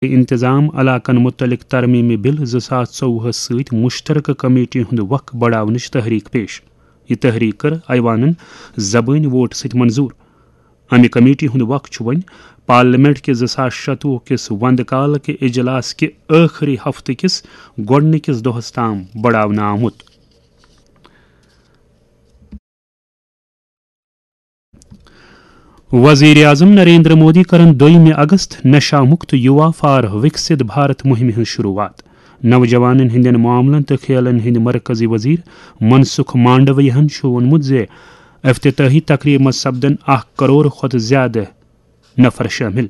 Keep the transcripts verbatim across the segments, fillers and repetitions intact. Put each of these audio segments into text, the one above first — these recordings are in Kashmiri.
انتظام علاقن متعلق ترمیمی بل زٕ ساس ژوٚوُہس سۭتۍ مشترکہ کمیٹی ہُنٛد وق بڑاونٕچ تحریک پیش۔ یہِ تحریک کٔر ایوانن زبٲنۍ ووٹ سۭتۍ منظور۔ امہِ کمیٹی ہُنٛد وق چھُ وۄنۍ پارلیمنٹ کہِ زٕ ساس شتوُہ کِس وندٕ کال کہِ اجلاس کہِ ٲخری ہفتہٕ کِس گۄڈٕنِکِس دۄہس تام بڑاونہٕ آمُت۔ وزیر اعظم نریندر مودی کرن دوٚیمہِ اگست نشہ مکت یوا فار وکسِت بھارت مہمہِ ہٕنٛز شروعات۔ نوجوانن ہٕنٛدٮ۪ن معاملن تہٕ کھیلن ہٕنٛدۍ مرکزی وزیر منسکھ مانڈویہن چھُ ووٚنمُت زِ افتتاحی تقریبہِ منٛز سپدن اکھ کرور کھۄتہٕ زیادٕ نفر شٲمِل۔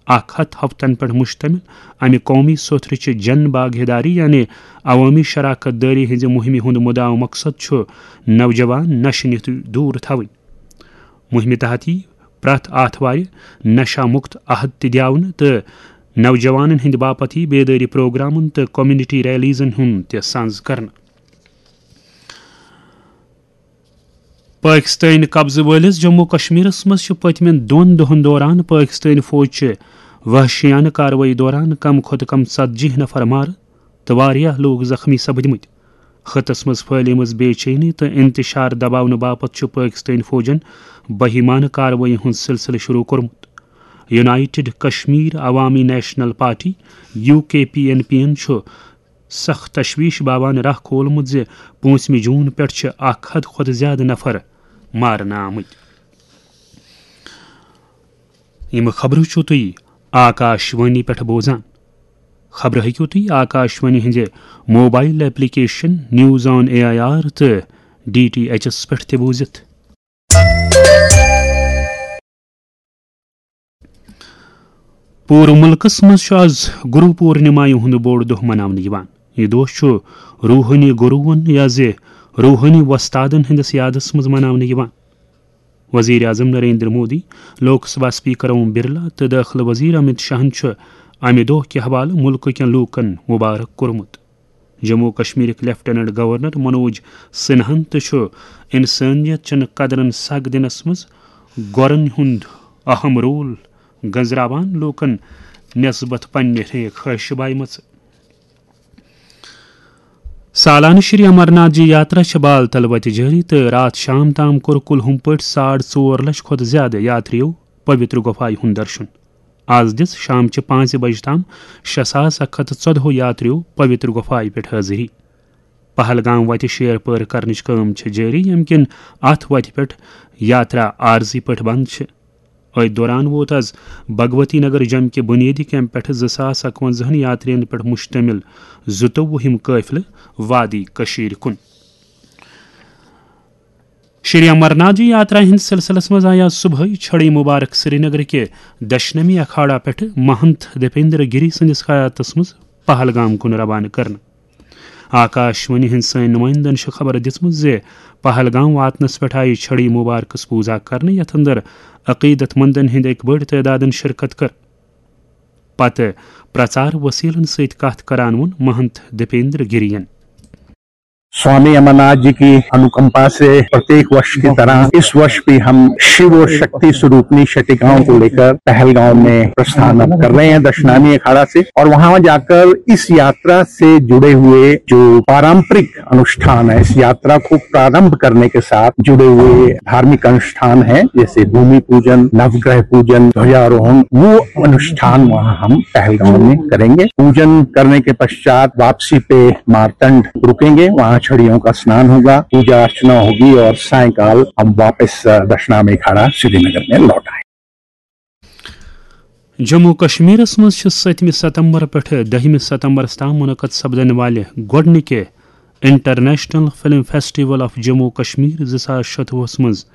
اکھ ہتھ ہفتن پٮ۪ٹھ مشتمل امہِ قومی سوٚتھرٕچہِ جن بھاگیداری یعنی عوٲمی شراکت دٲری ہٕنٛزِ مُہِمہِ ہُنٛد مُدعا مقصد چھُ نوجوان نشہٕ نِش دوٗر تھاوٕنۍ۔ مُہِمہِ تحت یِیہِ پرٛٮ۪تھ آتھوارِ نشہ مُکت عہد تہِ دِیاونہٕ تہٕ نوجوانن ہٕنٛدِ باپتھ یِیہِ بیدٲری پروگرامن تہٕ کمیونٹی ریلیزن ہُنٛد تہِ سنز کرنہٕ۔ پٲکِستٲنۍ قبضہٕ وٲلِس جموں کشمیرس منٛز چھِ پٔتمٮ۪ن دۄن دۄہن دوران پٲکِستٲنۍ فوج چہِ وحشیانہٕ کاروٲیی دوران کم کھۄتہٕ کم ژتجی نفر مارٕ تہٕ واریاہ لوٗکھ زخمی سپدمٕتۍ۔ خطس منٛز پھٔہلیمٕژ بے چینی تہٕ انتشار دباونہٕ باپتھ چھُ پٲکِستٲنۍ فوجن بہیمانہٕ کاروٲیی ہُنٛد سلسلہٕ شروع کوٚرمُت۔ یونائیٹڈ کشمیر عوامی نیشنل پارٹی، یو کے پی این پی یَن چھُ سخ تشویش باوان راہ کھولمُت زِ پوٗنٛژمہِ جوٗن پٮ۪ٹھ چھِ اکھ ہتھ کھۄتہٕ زیادٕ نفر مارنہٕ آمٕتۍ۔ یِم خبرٕ چھِو تُہۍ آکاش وانی پٮ۪ٹھ بوزان۔ خبرٕ ہیٚکِو تُہۍ آکاش وانی ہٕنٛزِ mobile application news on A I R تہٕ ڈی ٹی ایچ ایس پٮ۪ٹھ تہِ بوٗزِتھ۔ پوٗرٕ مُلکَس منٛز چھُ آز گُرو پوٗرنِمایہِ ہُنٛد بوٚڑ دۄہ مَناونہٕ یِوان۔ یہِ دۄہ چھُ روحٲنی گُروٗوَن یا زِ روحٲنی وۄستادَن ہٕنٛدِس یادَس منٛز مَناونہٕ یِوان۔ وزیر اعظم نریندر مودی، لوک سبھا اسپیکر اوم برلا تہٕ دٲخلہٕ وزیر امت شاہَن چھُ اَمہِ دۄہ کہِ حوالہٕ مُلکہٕ کٮ۪ن لوٗکَن مُبارک کوٚرمُت۔ جموں و کشمیرٕکۍ لیفٹیننٹ گورنر منوج سنہاہن تہِ چھُ انسٲنیت چٮ۪ن قدرن سگ دِنس منٛز گۄرن ہُنٛد اہم رول گنزراوان لوٗکن نسبت پننہِ ریکھ خٲہشہِ بایمژٕ۔ سالانہٕ شری امرناتھ جی یاترا چھِ بال تل وتہِ جٲری تہٕ راتھ شام تام کوٚر کُل ہُم پٲٹھۍ ساڑ ژور لچھ کھۄتہٕ زیادٕ یاترِیو پویتر گۄپھایہِ ہُنٛد درشُن۔ آز دِژ شامچہِ پانٛژِ بجہِ تام شےٚ ساس اکھ ہتھ تہٕ ژۄدہو یاترِیو پویتر گۄپھایہِ پٮ۪ٹھ حٲضری۔ پہلگام وتہِ شیر پٲر کرنٕچ کٲم چھِ جٲری، ییٚمہِ کِنۍ اتھ وتہِ پٮ۪ٹھ یاترا عارضی پٲٹھۍ بند چھِ۔ أتھۍ دوران ووت از بھگوتی نگر جمہِ کہِ بُنیٲدی کیمپ پٮ۪ٹھٕ زٕ ساس اکوَنزاہن یاترین پٮ۪ٹھ مشتمل زٕتووُہِم قٲفلہٕ وادی کٔشیٖرِ کُن۔ شری امرناتھ جی یاترا ہٕنٛدِ سلسلس منٛز آیہِ آز صبحٲے چھڑی مبارک سرینگر کہِ دشنمی اکھاڑا پٮ۪ٹھٕ مہنت دیپیندر گری سٕنٛدِس قیادتس منٛز پہلگام کُن روانہٕ کرنہٕ۔ آکاش وانی ہٕنٛدۍ سٲنۍ نُمٲیندن چھِ خبر دِژمٕژ زِ پہلگام واتنس پٮ۪ٹھ آیہِ چھڑی مبارکس پوٗزا کرنہٕ، یتھ اندر عقیدت مندن ہٕنٛدۍ اکہِ بٔڑۍ تعدادن شرکت کٔر۔ پتہٕ پرچار وسیلن سۭتۍ کتھ کران ووٚن مہنت دیپیندر گرین۔ स्वामी अमरनाथ जी की अनुकंपा से प्रत्येक वर्ष की तरह इस वर्ष भी हम शिव और शक्ति स्वरूपनी छठी गांव को लेकर पहलगांव में प्रस्थान कर रहे हैं दशनामी अखाड़ा से, और वहां जाकर इस यात्रा से जुड़े हुए जो पारंपरिक अनुष्ठान है, इस यात्रा को प्रारंभ करने के साथ जुड़े हुए धार्मिक अनुष्ठान हैं, जैसे भूमि पूजन, नवग्रह पूजन, ध्वजारोहण, वो अनुष्ठान वहां हम पहलगांव में करेंगे। पूजन करने के पश्चात वापसी पे मारतंड रुकेंगे, वहां छड़ियों का स्नान होगा, पूजा अर्चना होगी और सायंकाल हम वापस, अ, दशनामी अखाड़ा श्रीनगर में लौट आए। جموں و کشمیرس منٛز چھِ ستمہِ ستمبر پٮ۪ٹھٕ دٔہمہِ ستمبرس تام منعقد سپدن والہِ گۄڈٕنِکہِ international film festival of Jammu و کشمیر زٕ ساس شتوُہس منٛز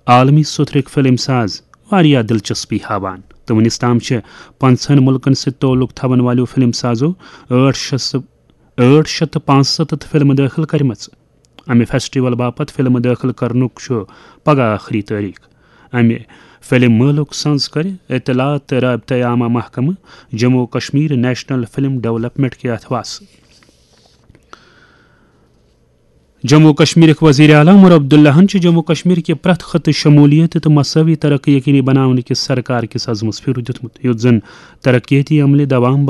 عالمی سوٚتھرٕکۍ فلم ساز واریاہ دلچسپی ہاوان تہٕ وُنِس تام چھِ پنٛژہن مُلکن سۭتۍ تعلق تھاون والیو فلم سازو ٲٹھ شیٚتھ، ٲٹھ شیٚتھ تہٕ پانٛژستتھ فلمہٕ دٲخل کرِمژٕ۔ امہِ فیسٹیول باپتھ فلمہٕ دٲخل کرنُک چھُ پگاہ ٲخری تٲریخ۔ امہِ فلم مٲلُک سنز کرِ اطلاعات تہٕ رابطہ عامہ محکمہٕ جموں و کشمیر نیشنل فلم ڈیولپمنٹ کہِ اتھواسہٕ۔ جموں و کشمیرٕکۍ وزیر اعلیٰ عمر عبداللہَن چھُ جموں و کشمیر کہِ پرٛٮ۪تھ خطہٕ شمولیت تہٕ مساوی ترقی یقینی بناونہٕ کِس سرکار کِس عزمس پھِرِ دیُتمُت، یُتھ زن ترقیتی عملہِ دوام